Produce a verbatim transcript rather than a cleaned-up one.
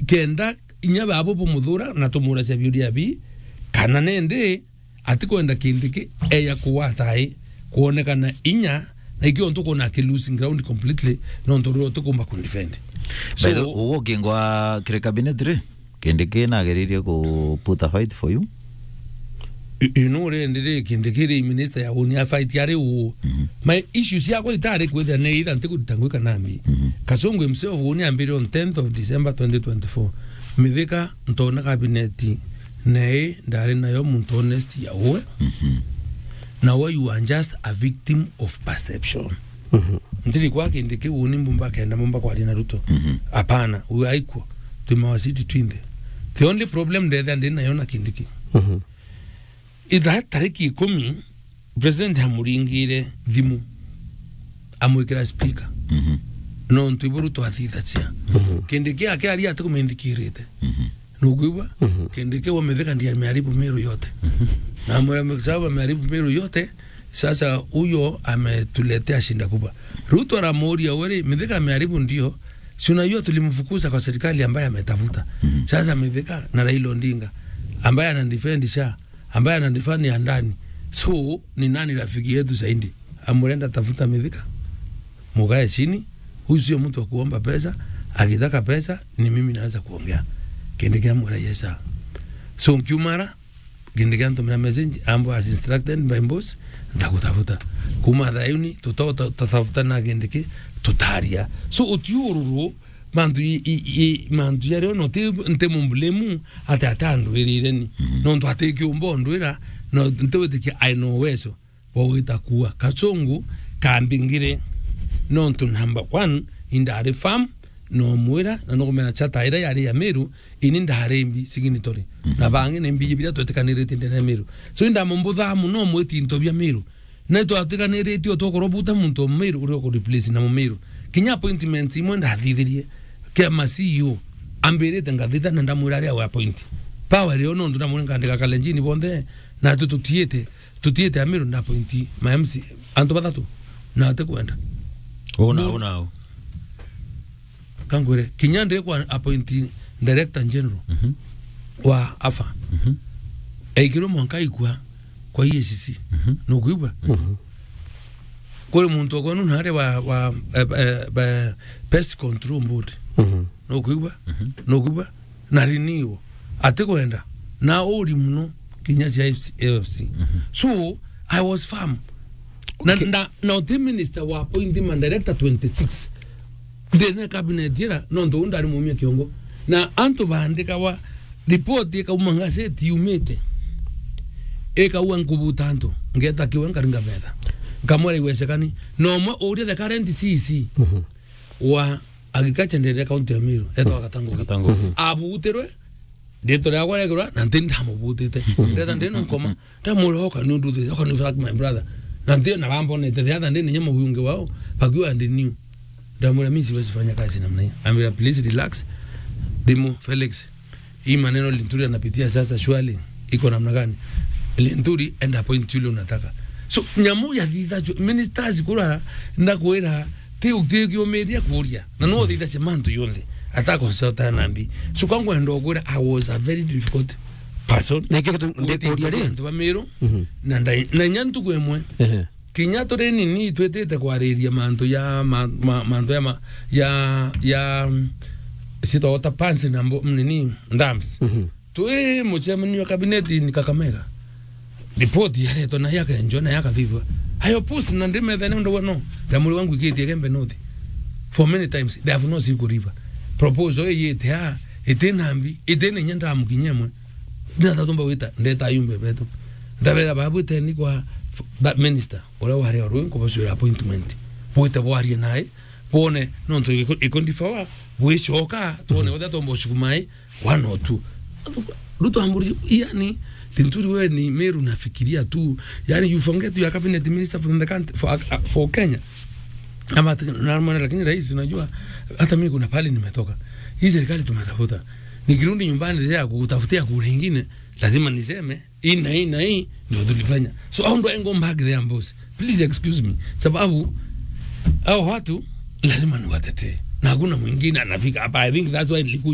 kenda inya babo bumuthura na tumuracia biuria bi, kana nende atikwenda Kindiki eya kugwata ai kwonekana inya, na ikio ntukwona aki losing ground completely, nontu rio tukumba ku defend. So, by the way, uguo ukingwa kiri cabinet ri, Kindiki nageririe ku put a fight for you? You, you know, rindi ri Kindiki ri minister ya uni a fight ari uu. Mhm. My issue ciakwa itari kwithira ni either ntikurita ngui kana mbi. Mhm. Kasongo himself uni ambire on tenth of December twenty twenty-four. Mithika ntona cabinet nei ndari nayo muntu honest ya uwe. Mhm. Na we you are just a victim of perception. Mhm. Ntiri kwa Kindiki uni mbumba kenda mbumba kwaria na Ruto. Mhm. Hapana, we aiko. Tuma wa city twinthe. The only problem ndetha ndi nayo na Kindiki. Mhm. Itha tariki ikumi, president amuringire thimu, amwikira speaker. Mhm. Nontu ibo Ruto athithagia. Mhm. Kindiki ake aria ati kuminthikirite. Mhm. Nukwigua? Mhm. Kindiki wa Mithika ndiye ameharibu Meru yote. Mhm. Na amwira, "Sababu ameharibu Meru yote, sasa huyo ametuletea shida kubwa." Ruto aramuuria, "Wewe, Mithika ameharibu ndio. Si unajua tulimfukuza kwa serikali ambaye ametafuta." Mhm. Sasa Mithika na Raila Odinga, ambaye anadefend SHA, ambaye anadefend ya ndani. So, ni nani rafiki yetu zaidi? Amurenda tafuta Mithika. Mukae chini. Huyu sio mtu wa kuomba pesa. Akitaka pesa, ni mimi naweza kuongea. Kindiki amwira, "Yes, sir." So, nkiumara, Kindiki antumira message, ambwa, "As instructed by boss, ndagutafuta." Kuma thayuni, tuto-, tutatafutana Kindiki, tutaria. So, utiururu, mantu i, i, i, mantu jaria ona uti, nti mumbulemu, ati atandwirire ni. Mhm. Nontu ati kiumba undwira, no ntiwitikia aina uwezo bwa gwita kuua. Kachungu kambingire, nontu number one, indari firm, nomwira, na nukumenya chata iria yari ya Meru, ini ndari mbi signatory. Mhm. Na bangi ni mbi biria twetikaniritie ndene ya Meru. So, indamumbuthaa muno mwiti into bia Meru. Na itwatiganiritie o tukorwo buta muntu o Mumiru uria uku replace na Mumiru. Kinya appointments imwe ndathithirie kia ma C E O, ambirite ngathitha na ndamwira aria we appoint. Power rio nontu ndamwira nkandika Kalenjini bonthe, na tu tutiite, tutiite Amiru nda appoint ma M C, antu bathatu, na atikwenda. Una, Bu- una au. Kangwire, kinya ndi kwa appoint Director General Mhm. wa afa. Mhm. Aikirwe mwanka aikua kwa E A C C. Mhm. Nukwigua? Mhm. Kuri muntu okwenu nari wa, wa, eh, eh, eh, Pest Control Board. Mhm. Nukwigua? Mhm. Nukwigua? Na renew. Atikwenda. Na uri muno kinya cia F C, F C. Mhm. So, I was firm. Na, Okay. na, na uti minister wa appoint ma director twenty-six. Ndina cabinet ira, nontu uu ndari mumia kiongo. Na antu baandikawa report ikauma ngazeti yumite. Ikauga nkubuta antu, ngeta kiwe nkaringa metha. Nkamwira iwesekani. Na umwe uria the current C E C Mhm. wa agriculture ndene county ya Meru, etwa Gatangugi. Gatangugi. Mhm. Abutirwe, Riitwa riakwa riekirwa, na nti ndamubutite. Ndetha ndina nkoma, ndamwira, "Oka ni undu this, oka ni fact, my brother." Na nti na bambonete, the other day, ninya mubunge wao, bakiwa and new. Ndamwira, "Mimi siwezi fanya kazi namna hii." Ambira, "Please relax." Thimu, Felix, hii maneno Linturi anapitia sasa, surely iko namna gani? Linturi, enda appoint yule unataka. So, nyamu ya thitha, ministers kura, ndakwira, ti, ti kiumiria kuria. Na no thitha cia mantu yonthe. Ata consulta na mbi. So, kwa ngwenda kwira, I was a very difficult person. Na ikio kitu ndikuria ri? Antu ba Meru, Mhm. na ndai-, na inya ntuku imwe. Ehe. Kinya turi nini, twitite kwariria mantu ya, ma-, ma-, mantu ya, ma-, ya, ya, mm, citagwa ta pans na mbo-, nini, dams. Mhm. Twi mucemanio wa cabinet in Kakamega. Report yaretwa na yakenjwa na yakathithwa. I oppose na ndimethene undu we no. Ndamuri wangu ikitie Gembe North. For many times, they have not seen Kuriva. Proposal iyite ha, iti na mbi, iti na inya ndamukinyia mwe. Ndata tumba wita, ndeta yumbe betu. Ndabera babu iteni kwa f-, ba-, minister, uria wari o rwi, nkubacwira appointment. Bwite bwarie nae, bwone, nontu iko-, ikondifawa, bwicoka, twone Mhm. whether tomba ucukumai, one or two. Ruto amburi, yani, Linturi we ni Meru nafikiria tu. Yani, you forget you are cabinet minister for the country, for, uh, for Kenya. Ama ati, na mwana, lakini rais, unajua, hata mimi kuna pahali nimetoka. Hii serikali tumetafuta. Nikirudi nyumbani ya kutafutia kura ingine, lazima niseme, hii na hii na hii ndio tulifanya. So, how do I go back there, boss? Please excuse me. Sababu, hao watu lazima niwatetee. Na hakuna mwingine anafika hapa. I think that's why nilikuja